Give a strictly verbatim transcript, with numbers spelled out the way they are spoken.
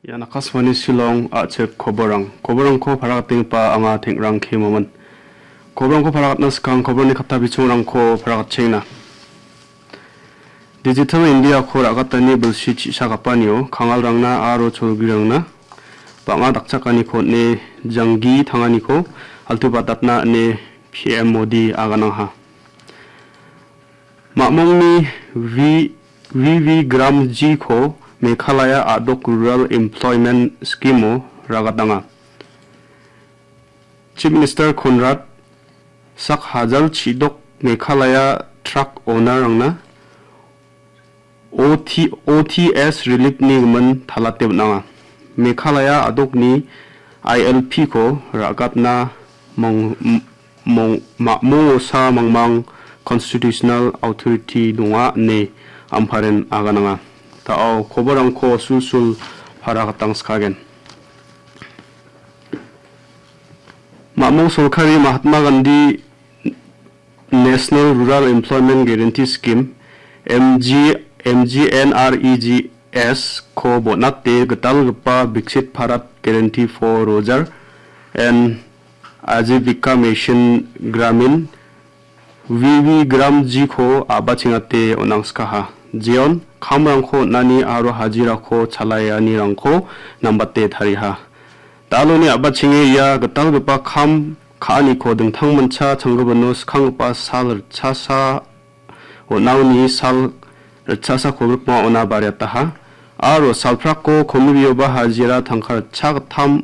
Ian Akashvani Shillong, a·chik koborrang. Koborrangko paragatenggipa anga Tengrang K. Momin. Koborrangko paragatna skang koborni katta bichongrangko paragatchenga. Digital India-ko ra·gatani bilsi chi·sakapanio kangalrangna aro cholgirangna bang·a dakchakaniko on·e janggi tanganiko altubatatna ine P M Modi aganangha. Ma·mongni V-, V V Gramjiko Meghalaya a·dok Rural Employment Scheme-o ragatanga. Chief Minister Conrad sak hajal chidok Meghalaya truck owner-rangna O T, O T S relief-ni gimin talate on·anga. Meghalaya a·dokni I L P-ko ra·gatna mong-, mong-, ma-, mong·osa mangmang constitutional authority donga ine Amparen agananga. Da·o koborrangko sulsul para gatang skagen. Ma·mong sorkari Mahatma Gandhi National Rural Employment Guarantee Scheme, M G, M G N R E G S-ko bon·ate gitalgipa Viksit Bharat Guarantee for Rozgar and Ajivika Mission Gramin, V V Gramjiko a·bachengate on·angskaha. Jeon kamrangko on·ani aro hajirako chalaianirangko nambate tariha. Daloni a·bachenge ia gitalgipa kam ka·aniko dingtangmancha changgipino skanggipa sal ritchasa on·angni sal ritchasa kolgrikma ona bariataha. Aro salprako komibioba hajira tangka ritchagittam